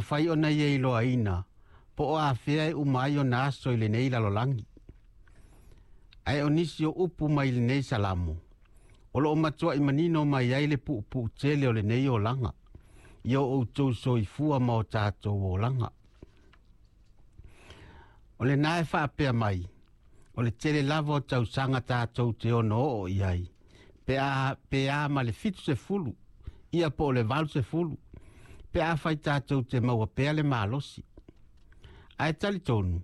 mafai ona ia iloaina po o afea e uma ai ona aso i lenei lalolagi. Ae o nisi o upu mai lenei Salamo, o loo matuai manino mai ai le puupuu tele o lenei olaga, i o outou soifua ma o tatou olaga. O lena e faapea mai, o le tele lava o tausaga tatou te ono oo i ai, pe a, pe a ma le 70, ia po o le 80, pe afai tatou te maua pea le malosi. Ae talitonu,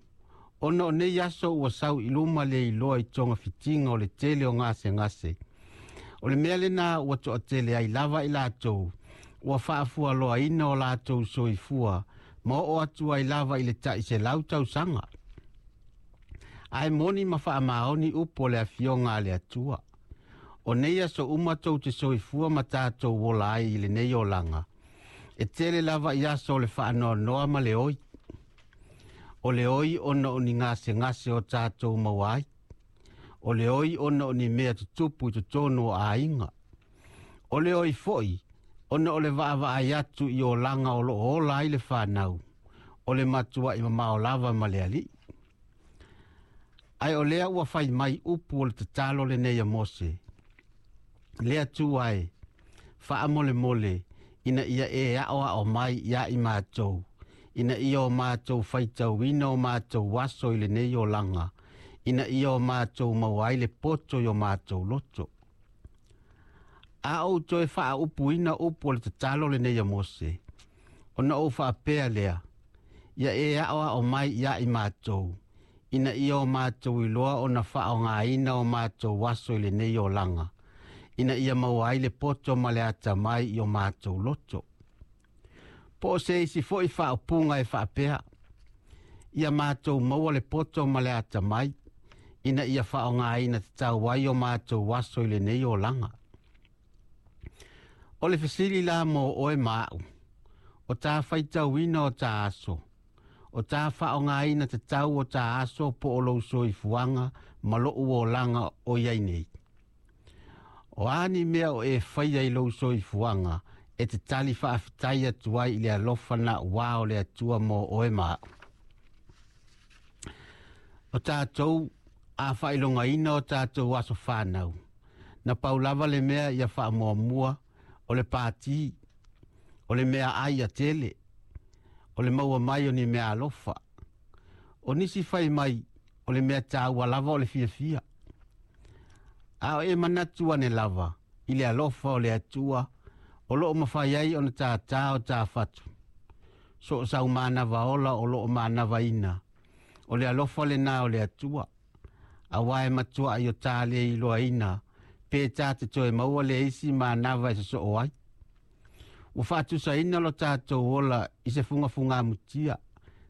ona o nei aso ua sau i luma le iloa i togafitiga o le tele o gasegase. O le mea lena ua toatele ai lava i latou, ua faafualoaina o latou soifua, ma oo atu ai lava i le tai 100 tausaga. Ae moni ma faamaoni upu o le afioga a le Atua. O nei aso uma tou te soifua ma tatou ola ai i lenei olaga, e tele lava i aso o le faanoanoa ma le oi. O le oi ona o ni gasegase o tatou maua ai. O le oi ona o ni mea tutupu i totonu o aiga. O le oi foi ona o le vaavaai atu i olaga o loo ola ai le fanau, o le matuai mamao lava ma le Alii. Ae o lea ua fai mai upu o le tatalo lenei a Mose. Le Atua e, faamolemole ina ia e aoao mai ia i matou, ina ia o matou faitauina o matou aso i lenei olaga, ina ia o matou maua ai le poto i o matou loto. A ou toe faaupuina upu o le tatalo lenei a Mose, ona ou faapea lea, ia e aoao mai ia i matou, ina ia o matou iloa ona faaaogaina o matou aso i lenei olaga, ina ia maua ai le poto ma le atamai i o matou loto. Po o se isi foi faaupuga e faapea, ia matou maua le poto ma le atamai, ina ia faaaogaina tatau ai o matou aso i lenei olaga. O le fesili la mo oe ma au, o tā faitauina o tā aso, o tā faaaogaina tatau o tā aso po o lou soifuaga ma lou olaga o i ai nei. O a ni mea o e faia i lou soifuaga e te tali faafetai atu ai i le alofa na ua o le Atua mo oe ma au. O tatou a faailogaina o tatou aso fanau, na pau lava le mea ia faamuamua o le pati, o le mea ai a tele, o le maua mai o ni mea alofa. O nisi fai mai o le mea taua lava o le fiafia. A o e manatu ane lava i le alofa o le Atua, o loo mafai ai ona tātā o tā fatu. So o sau manava ola o loo manavaina, o le alofa lena o le Atua. Aua e matua i o tā le iloaina, pe tā te toe maua le isi manava e sosoo ai. Ua faatusaina lo tatou ola i se fugafugamutia,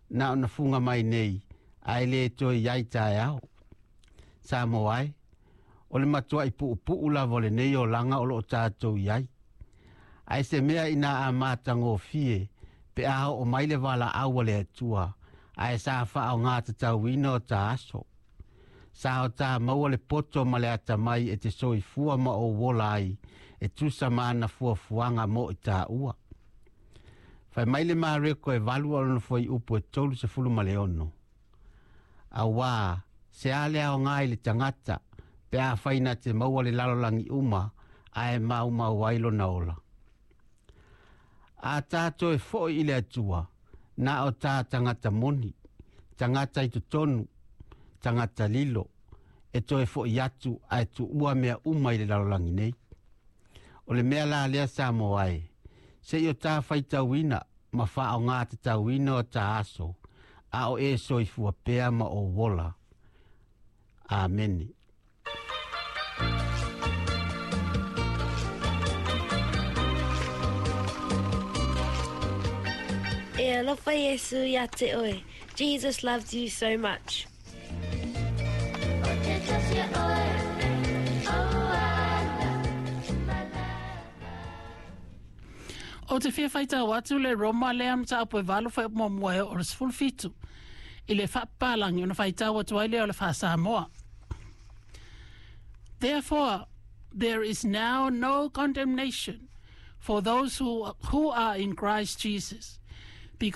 na ona fuga mai nei, ae le toe i ai taeao. Samoa e, o le matuai puupuu lava o lenei olaga o loo tatou i ai. Ae se mea ina a matagofie pe a oo mai le valaau a le Atua, ae sa faaaoga tatauina o ta aso. Sa o tā maua le poto ma le atamai e te soifua ma ou ola ai, e tusa ma ana fuafuaga mo i tāua. Fai mai le Mareko e 8 o lona fuaiupu e 36. Auā, se a le aoga i le tagata, pe afai na te maua le lalolagi uma, ae maumau ai lona ola. A tātou e foi i le Atua, na o tā tagata moni, tagata i totonu, tagata lilo, e toe foi atu ae tuua mea uma i le lalolagi nei. O le mea la lea Samoa e, se i o tā faitauina ma faaaoga tatauina o tā aso, a o e soifua pea ma ou ola. Amene. E alofa Iesu ia te oe. Jesus loves you so much. O te fia faitau atu le Roma lea mataupu e 8 fuaiupu muamua e oo i le 17 i le faapapalangi ona faitau atu ai lea o le faa-Samoa. Therefore, there is now no condemnation for those who are in Christ Jesus.